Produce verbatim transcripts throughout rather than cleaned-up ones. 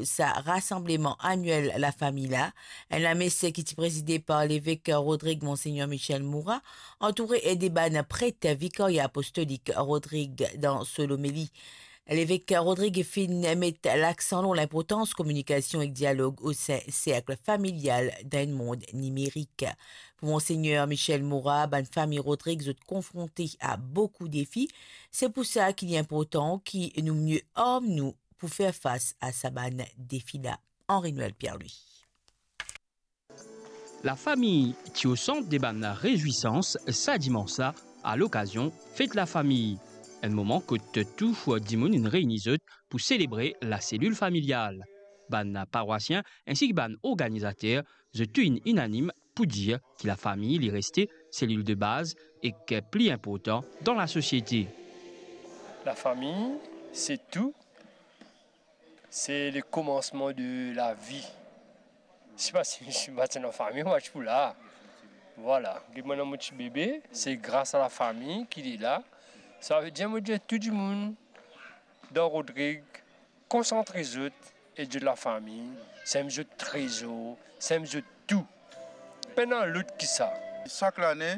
sa rasanbleman aniel lafami la, enn lames ki ti prezide par levek Rodrig Monsegner Michel Moura, antoure de bann pret Vikaria Apostolik Rodrig dan so lomeli. Levek Rodrig finn met laksan lor linportans kominikasion ek dialog osin serk familial dan enn mond nimerik. Pou Monsegner Michel Moura, bann fami Rodrig zot konfronte a boukou defi, se pou sa ki li inportan ki nou mie arm nou pou fer fas a sa bann defi la. Henri Noël Pierre-Louis. Lafami ti o sant de bann rezwisans sa dimans la, a lokazion Fet Lafami. Enn moman kot tou dimoun inn reyni zot pou selebre laselil familial. Bann parwasien ensi ki bann organizater, zot tou inn inanim pou dir ki lafami li reste selil de baz ek pli inportan dan lasosiete. Lafami, se tou. Se le komansman de lavi. Si pa, si, si pa ti ena fami, mo pa ti pou la. Vwala, get mwa mo ti bebe, se gras a lafami ki li la. Savedir mo dir tou dimoun dan Rodrig, konsantre zot, ed zot lafami, se enn zot trezor, se enn zot tou. Pena lot ki sa. Sak lane,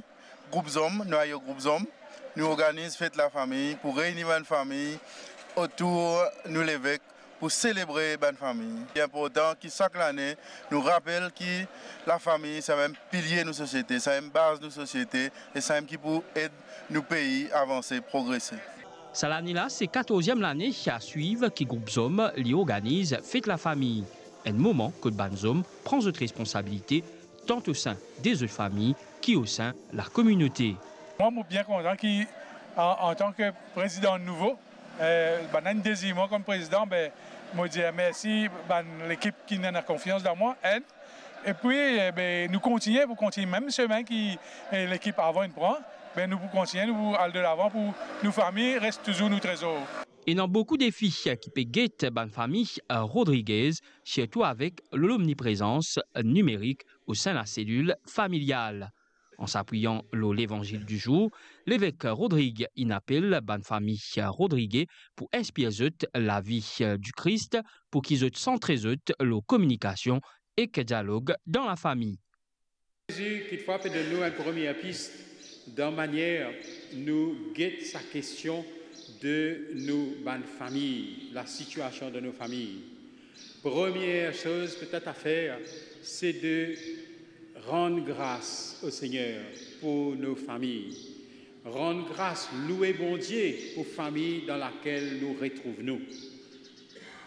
group zom, nou ayo group zom, nou organiz Fet Lafami pou reyni bann fami otour nou levek pou selebre bann fami. Li inportan ki sak lane nou rapel ki lafami samem pilie nou sosiete, samem baz nou sosiete e samem ki pou ed nou pei avanse, progrese. Sa lane la, se katorzienm lane a swiv ki group zom li organiz Fet Lafami, enn moman kot bann zom pran zot responsabilite, tant o sin de zot fami ki o sin lakominote. Mwa, mo bien kontan ki, an, antan ki prezidan nouvo, eh, bann inn dezir mwa kom prezidan, be, mo dir mersi bann lekip ki ena konfians dan mwa, enn, epi, eh, be, nou kontigne pou kontigne mem semin ki, eh, lekip avan inn pran, be, nou pou kontigne, nou pou al delavan pou nou fami res touzour nou trezor. Ena boukou defi ki pe get bann fami Rodriguez, sirtou avek lomniprezans nimerik o sin laselil familial. An s'apiyan lor Levanzil di zour, levek Rodrig inn apel bann fami Rodrige pou inspir zot lavi di Kris, pou ki zot santre zot lor kominikasion ek dialog dan lafami. Zezi, kitfwa, pe donn nou enn premie pis dan manier nou get sa kestion de nou bann fami, lasitiasion de nou fami. Premie soz petet a fer, se de rann gras o Segner pou nou fami. Rann gras, loue Bondie pou fami dan lakel nou retrouv nou.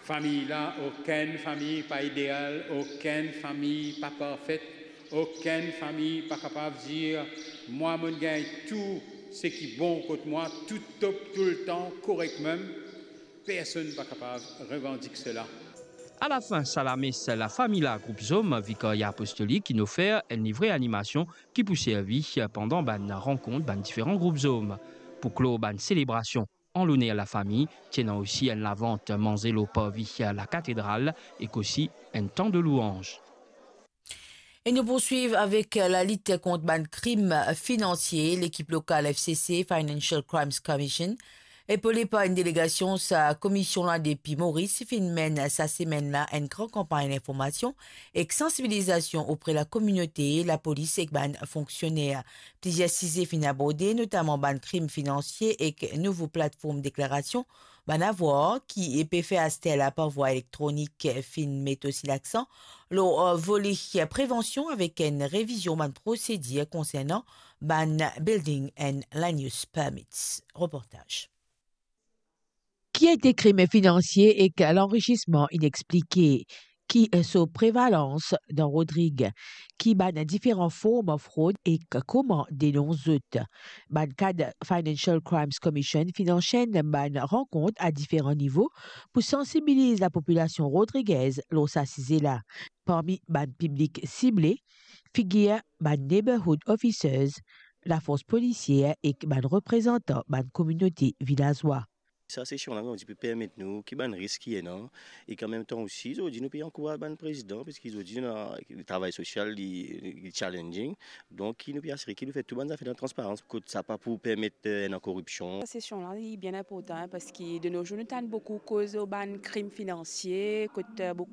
Fami la, okenn fami pa ideal, okenn fami pa parfet, okenn fami pa kapav dir, "Mwa, mo'nn gagn tou seki bon kot mwa, tou top toultan, korek mem." Personn pa kapav revandik sela. Alafin sa lames, lafami la group zom Vikaria Apostolik inn ofer enn livre animasion ki pou servi pandan bann rankont bann diferan group zom. Pou klor bann selebrasion an loner lafami, ti ena osi enn lavant manze lor parvi lakatedral ek osi enn tan de louanz. E nou pou swiv avek lalit kont bann krim finansie. Lekip lokal F C C, Financial Crimes Commission, epole par enn delegasion sa komisionn la depi Moris, finn menn sa semenn la enn gran kanpagn linformasion ek sansibilizasion opre lakominote, lapolis ek bann fonksioner. Plizier size finn aborde, notaman bann krim finansie ek nouvo platform deklarasion bann avwar ki pe fer aster la par vwa elektronik. Finn met osi laksan lor, eh, vole prevansion avek enn revizion bann prosedir konsernan bann building and land use permits. Reportaz. Ki ete krim finansie ek lanrisisman inexplike? Ki so prevalans dan Rodrig? Ki bann diferan form frod ek koman denons zot? Bann kad Financial Crimes Commission finn ansenn bann rankont a diferan nivo pou sansibiliz lapopilasion rodrigez lor sa size la. Parmi bann piblik sible, figir bann neighborhood officers, lafors polisier ek bann reprezantan bann kominote vilazwa. Sa sesion la, kouma dir, pou permet nou ki bann risk ki ena, e an mem tan osi, zordi nou pe ankouraz bann prezidan, piski zordi nou ena travay sosial, li, li challenging, donk ki nou pe asire ki nou fer tou bann zafer dan transparans, kot sa pa pou permet, eh, ena koripsion. Sa sesion la, li bien inportan, parski de nos jours, nou tann boukou koz lor bann krim finansie, kot, eh, boukou